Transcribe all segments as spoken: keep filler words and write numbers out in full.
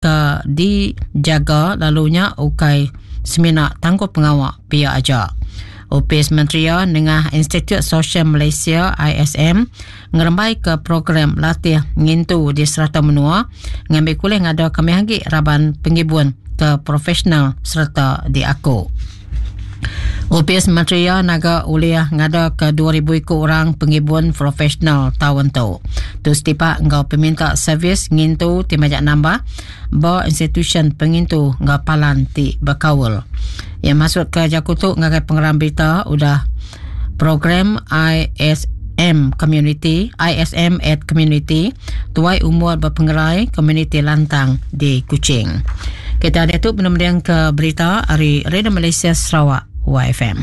Ke dijaga lalunya ukai semina tangguh pengawak pihak aja. Opis Menteri nengah Institut Sosial Malaysia I S M ngerembai ke program latih ngintu di serata menua ngambil kuliah ngada kami lagi raban pengibun ke profesional serta diaku. Opis Menteri naga uliah ngada ke dua ribu ikut orang pengibun profesional tahun tu. Tu setipak ngau peminta servis ngintu ti majak nambah ba institution pengintu ngau palan ti berkaul. Yang masuk ke jaku tu ngagai pengeram berita udah program I S M Community, I S M at Community, tuai umur berpengerai Community Lantang di Kuching. Kita ada tu penemdian ke berita hari Radio Malaysia Sarawak Y F M.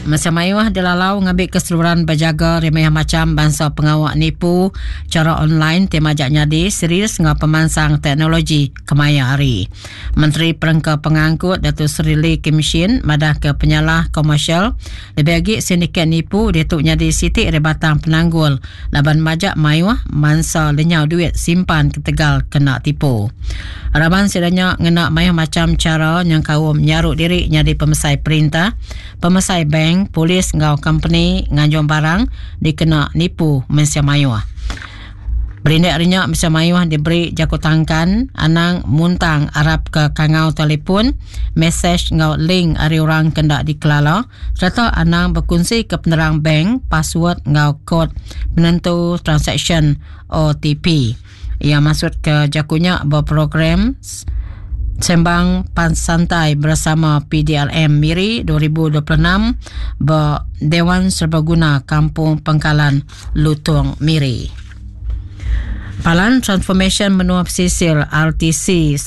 Masa mayuh dilalau ngambil keseluruhan berjaga remeh macam bangsa pengawak nipu cara online tema jak nyadi serius ngau pemansang teknologi kemaya hari. Menteri Perengka Pengangkut Datuk Seri Lee Kim Shin madah ke penyalah komersial lebih lagi sindiket nipu dia tu nyadi sitik rebatang penanggul laban majak mayuh mansa lenyau duit simpan ketegal kena tipu. Raban sidanya ngena mayuh macam cara yang kaum nyaruk diri nyadi pemesai perintah, pemesai bank, polis ngau company nganjung barang dikena nipu mensia mayuh. Berindik rinyak mensia mayuh diberi jaku tangkan anang muntang arap ke kangau telefon, mesej ngau link ari orang kendak dikelala serta anang berkongsi ke penerang bank, password ngau kod penentu transaction O T P. Ia masuk ke jakunya berprogram Sembang Santai bersama P D L M Miri dua ribu dua puluh enam ber Dewan Serbaguna Kampung Pengkalan Lutong Miri. Palan Transformation Menua Pesisir R T C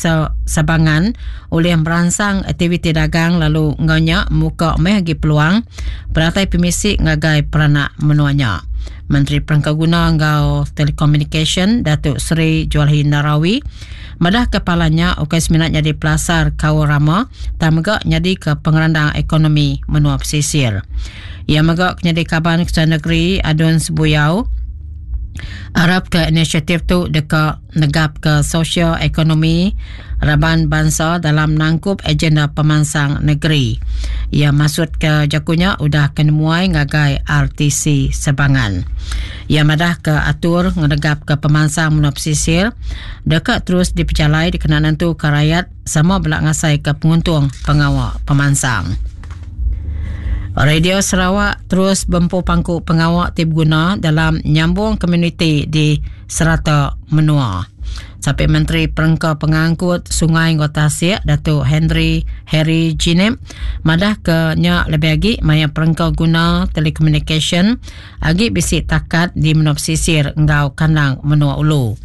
Sabangan oleh merangsang aktiviti dagang lalu ngaunya muka meh agi peluang peratai pemisik ngagai peranak menuanya. Menteri Perengkaguna ngau Telekomunikasi Datuk Seri Julaihi Narawi madah kepalanya ukai seminat jadi pelasar kau rama dan megak jadi ke pengerandang ekonomi menua pesisir. Ia megak jadi kaban Ketua Negeri Adun Sebuyau Arab ke inisiatif tu dekat negap ke sosial ekonomi raban bangsa dalam nangkup agenda pemansang negeri. Ia masuk ke jakunya udah kenemuai ngagai R T C Sebangan. Ia madah ke atur ngedegap ke pemansang menua pesisir dekat terus diperjalai dikenal nentu ke rakyat sama belak ngasai ke penguntung pengawal pemansang. Radio Sarawak terus bempu pangku pengawak tip guna dalam nyambung komuniti di serata menua. Sampai Menteri Perengka Pengangkut Sungai Ngau Tasik Datuk Henry Harry Jinep madah ke nyak lebih agi maya perengka guna telekomunikasi agi bisi takat di menua pesisir ngau kandang menua ulu.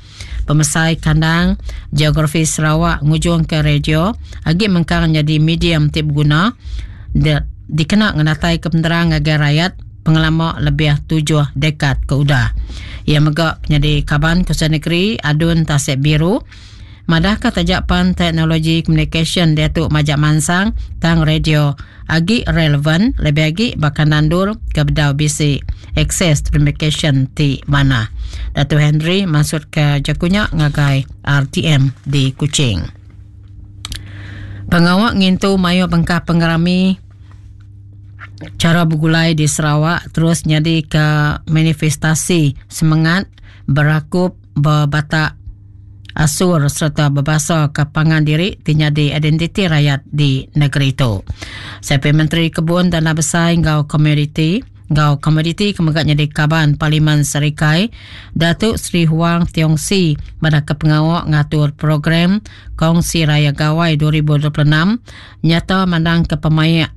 Pemesai kandang geografi Sarawak ngujung ke radio agi mengkang jadi medium tip guna de, dikena ngenatai ke penerang agar rakyat pengelama lebih tujuh dekad ke udah. Ia megak menjadi kaban Kuasa Negeri Adun Tasik Biru. Madah ke tajapan teknologi communication dia tu majak mansang tang radio agi relevan lebih agi bahkan nandur ke bedau bisi akses communication ti mana. Datuk Henry masuk ke jakunya ngagai R T M di Kuching. Pengawak ngintu mayu bengkah pengerami cara bergulai di Sarawak terus jadi ke manifestasi semangat berakup berbatak asur serta berbahasa ke pangan diri tinyadi identiti rakyat di negeri itu. Siapa Menteri Kebun Tanah Besar ngau Komoditi ngau Komoditi kemegak jadi kaban Parlimen Serikai Datuk Seri Huang Tiong Si pada ke pengawak ngatur program Kongsi Raya Gawai dua ribu dua puluh enam nyata mandang ke pemayak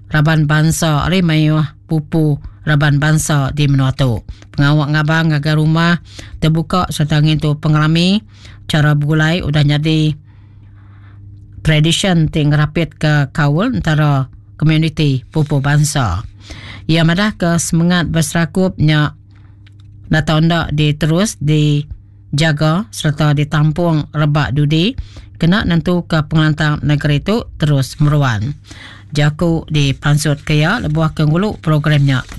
Raban Bangsa ari mayuh pupu Raban Bangsa di menua tu. Pengawak ngabang ngagai rumah terbuka serta ngintu pengerami cara bergulai udah jadi tradition ti ngerapit ke kaul antara komuniti pupu bangsa. Ia madah ke semangat berserakupnya datang ndak diterus dijaga serta ditampung rebak dudi kena nentuka pengelantang negeri tu terus meruan. Jaku dipansutka iya lebuh ke ngulu program nya.